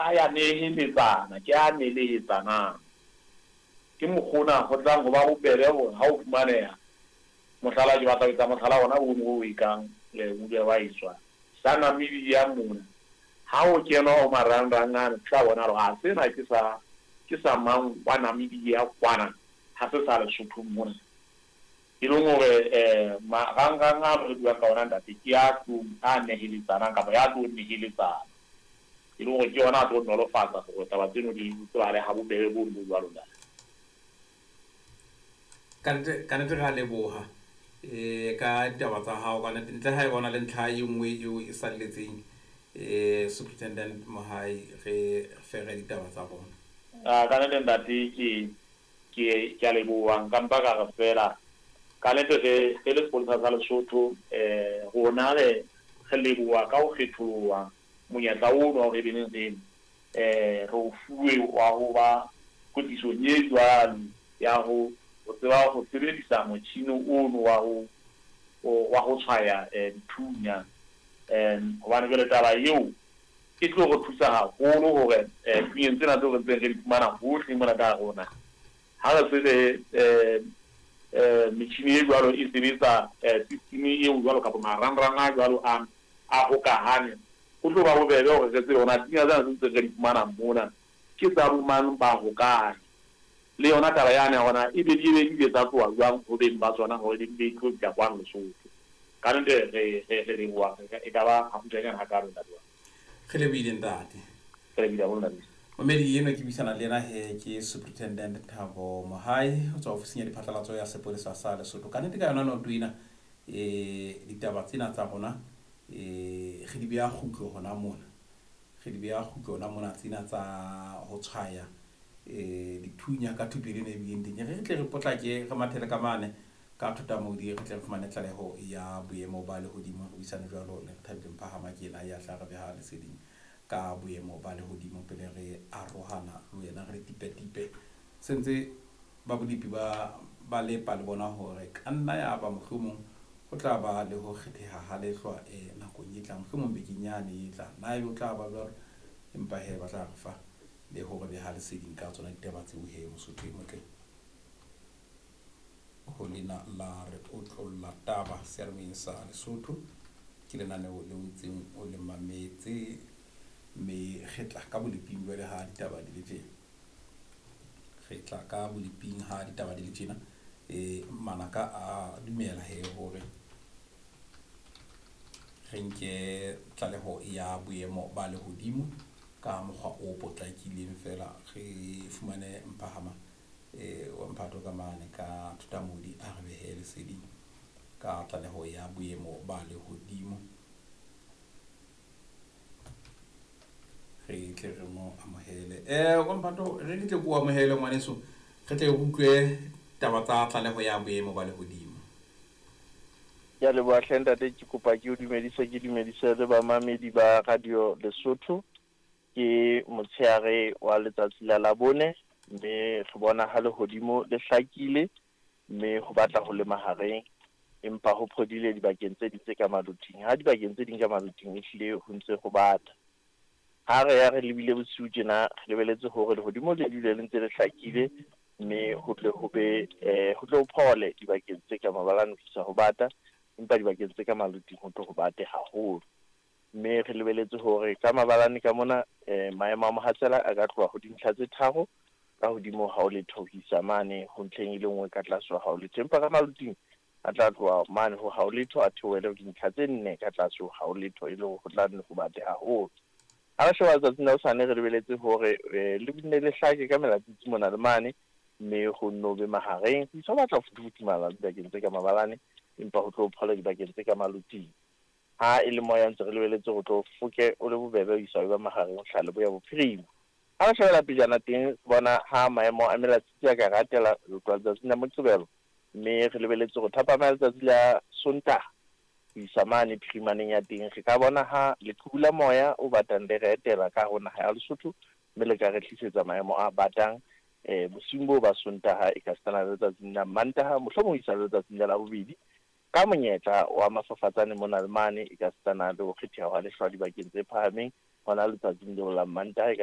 a ya neheletsana, ke a nelehetsanang. Ke mokgwa ona ho tlang ho ba bobebe hore ha o fumaneha, mohlala ke batla ho etsa mohlala ona ono o ekang o ile wa etswa sa Namibia mona. Ha o kenwa ho marangrang ana, o tla bona hore a sena ke sa ke sa mang wa Namibia kwana, ha se sa Lesotho mona. E leng hore marangrang ano re buang ka ona ntate, ke a tlo a neheletsanang kapa ya tlo neheletsana. E leng hore ke yona a tlo nolofatsa hore taba tseno di tsebahale ha bobebe bono bo jwalo ntate. Kannete, kannete re a leboha ka ditaba tsa hao. Kannete ntle ha eba o na le ntlha e nngwe eo e salletseng, Superintendent Mohai, re fere ditaba tsa rona. A kannete ntate, ke a leboha. Nka mpa ka re feela kannete re le sepolesa sa Lesotho, rona re leboha ka ho kgetholoha monyetla ono wa hore e beneng re o fuwe wa ho ba kwetlisong e jwalo ya ho tseba ho sebedisa motjhini ono wa ho tshwaya dithunya, hobane jwale taba eo e tlo re thusa haholo hore thunyeng tsena tseo re ntseng re di fumana hohle mona ka hare ho naha, ha re se re metjhini e jwalo e sebetsa, system eo jwalo kapa marangrang a jwalo a hokahane, ho tlo ba bobebe hore re tsebe hore na thunya tsena tse ntseng re di fumana mona ke tsa bo mang, ba hokae, le yona taba yane ya hore ebe di ile tsa tloha jwang ho beng ba tsona hore di be tlo fihla kwano Lesotho. Kannete re leboha, e ka ba hakgutshwanyane hakalo, ntate wa. Re lebohile, ntate. Re lebohile haholo, ntate. Momedi eno ke buisana le ena he ke Superintendent Thabo Mohai ho tswa ofising ya diphatlalatso ya sepolesa sa Lesotho. Kannete ka yona noto ena, ditaba tsena tsa rona re di beha kgutlo hona mona, re di beha kgutlo hona mona, tsena tsa ho tshwaya dithunya ka thupelo ena e bileng teng. Re tle re potlake, re mathele ka mane ka Thotamodi, re tle re fumane tlaleho ya boemo ba lehodimo. Re buisane jwalo le Rethabile Mphahama, ke ena ya tla re beha leseding ka boemo ba lehodimo pele re arohana le wena, re tipe-tipe. Sentse ba bolepi ba lepa le bona hore ka nna ya ba mohlomong ho tla ba le ho kgetheha ha lehlwa nakong e tlang, mohlomong bekeng yane e tlang, na ebe o tla ba jwalo, empa he ba tla re fa le hore beha leseding ka tsona ditaba tseo. He Mosotho e motle, ho lena la re otlolla taba seyalemoyeng sa Lesotho, ke lenaneo le o ntseng o le mametse, mme re tla ka boleping jwale ha ditaba di le tjena, re tla ka boleping ha ditaba di le tjena. Manaka a dumela he hore re nke tlaleho ya boemo ba lehodimo ka mokgwa o potlakileng feela, re fumane Mphahama wa mphato ka mane ka Thotamodi, a re behe leseding ka tlaleho ya boemo ba lehodimo, re tle re mo amohele. Wa mphato, re tle ko amohele ngwaneso, re tle re utlwe taba tsa tlaleho ya boemo ba lehodimo. Ke a leboha hle ntate, ke kopa ke o dumedise, ke dumedise le bamamedi ba Radio Lesotho. Ke motshehare wa letsatsi la Labone, mme re bona ha lehodimo le hlakile, mme ho batla ho le mahareng, empa ho phodile dibakeng tse ding tse ka maloting, ha dibakeng tse ding ka maloting ehlile ho ntse ho bata. Ha re ya re lebile bosiu tjena, re lebeletse hore lehodimo le dule le ntse le hlakile, mme ho tle ho be ho tle ho phole dibakeng tse ka mabalane ho isa ho bata, empa dibakeng tse ka maloting ho tlo ho bate haholo. Mme re lebeletse hore ka mabalane ka mona, maemo a mohatsela a ka tloha ho dintlha tse 3 ka hodimo ha o letho ho isa mane ho ntlheng e le nngwe ka tlase ha o letho, empa ka maloting a tla tloha mane ho ha o letho a theohele ho dintlha tse 4 ka tlase ho ha o letho, e le hore ho tla nne ho bate haholo. Ha re sheba letsatsing la hosane, re lebeletse hore le nne le hlake ka melatsitsi mona le mane, mme ho nno be mahareng ho isa ho batla ho futhufuthumala dibakeng tse ka mabalane, empa ho tlo phola dibakeng tse ka maloting. Ha e le moya, ntse re lebeletse ho tlo foke o le bobebe ho isa ho ba mahareng ho hlaha leboya bophirima. Ha re shebela pejana teng, bona ha maemo a melatsitsi a ka ratela ho tloha letsatsing la Moqebelo, mme re lebeletse hore thapama ya letsatsi la Sontaha ho isa mane phirimaneng ya teng, re ka bona ha leqhubu la moya o batang le re etela ka ho naha ya Lesotho, mme le ka re tlisetsa maemo a batang bosiung boo ba Sontaha, e ka sitana le letsatsing la Mantaha, mohlomong ho isa le letsatsing la Labobedi, ka monyetla wa mafafatsane mona le mane, e ka sitana le ho kgetheha hwa lehlwa dibakeng tse phahameng hona letsatsing leo la Mantaha e ka.